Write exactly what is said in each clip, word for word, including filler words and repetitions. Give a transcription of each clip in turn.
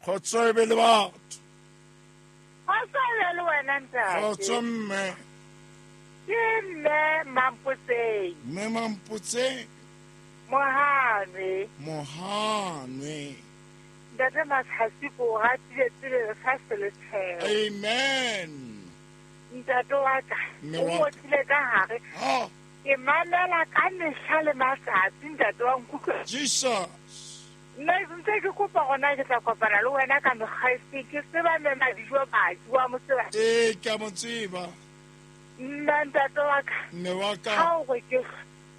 Kgotso e be le batho. Kgotso e be le wena ntate. Kgotso mme. Ke mme Mampotseng. Mme Mampotseng. Mohanwe. Mohanwe. Ntate Matlhasi ko ratile tsele lefatshe le tsheo. Amen. Ntate wa ka o motlile ka hare. Ke mamela ka mehla le matsatsi ntate wa nkutlwa. Jesus. Nna ntse ke kopa gona ke tla kopana le wena ka mekgaisi ke tseba mme Madijo Baji wa mo tseba. Ee, ke a mo tseba. Nna ntate wa ka. Mme wa ka. Ha o re ke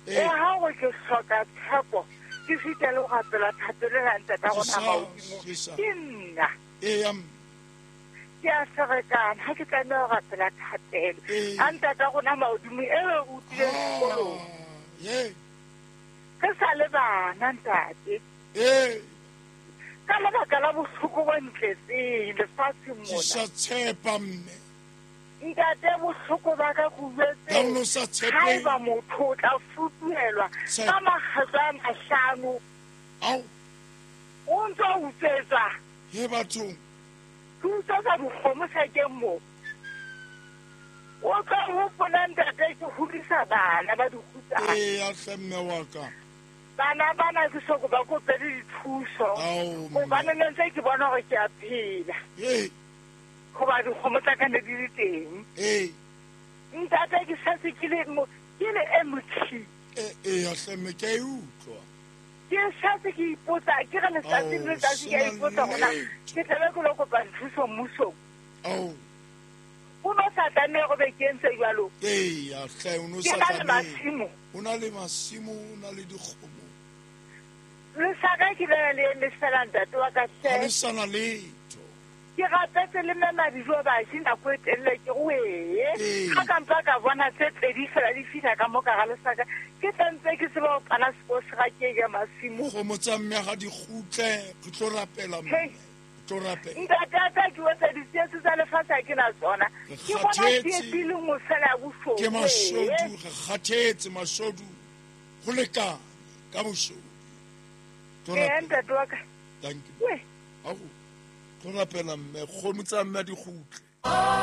e ha o re ke hloka tshepo ke fitele go rapela thapelo ya ntate rona mahodimo. Ke nna. Ee, ke a ferekana ha ke tlameha ho rapela thapelo. A ntate rona mahodimo e re rutileng sekolong. Re sa le bana ntate. Ee. Ka lebaka la bohloko bo ntletseng lefatsheng mona. Ke sa tshepa mme. Ntate bohloko ba ka ko jwetse. Haeba motho o tla futuhelwa ka makgetlo a mahlano. Ao. O ntso utswetsa. He bathong. Ke utswetsa dikgomo sakeng moo. O tla hopola ntate ke hodisa bana ba dikgutsana. Ee, a hle mme wa ka. Bana bana ke so ba kopele dithuso. Hobane ne ntse ke bona hore ke a phela. Ee. Hoba dikgomo tsa ka ne di le teng. Ee. Ntate ke setse ke le ke le empty. Ee, ee, a hle mme ke a e utlwa. Ke setse ke ipotsa ke re letsatsi le letsatsi ke a ipotsa hore ke tlabe ke lo kopa dithuso mmusong. Ao. O no sa tlameha go be ke entse jwalo. Ee, a hle o no sa Ke na le tlameha. masimo. O na le masimo, o na le dikgomo. Le saka ke le le eme fela ntate wa ka hle. Ha le sana letho. Ke rapetse le mme Madijo Baji nako e telele ke re Ee. ha ka mpa ka bona tse pedi fela di fihla ka mo ka ga lesaka ke tla ntse ke tseba ho qala sekolo se ga ke ya masimo. Kgomo tsa mme ga di kgutle, re tlo rapela mme. Hey. Re tlo rapela. Ntate a ka ke otsa ditsietsi tsa lefatshe ha ke na tsona. Re Ke bona kgathetse. tsietsi e le nngwe fela ya boshodu. Ke mashodu, re kgathetse mashodu. Ho lekane ka boshodu. Tlo Ee, rapela. ntate wa ka. Thank you. We. Ao. Tlo rapela mme, kgomo tsa mme ha di kgutle.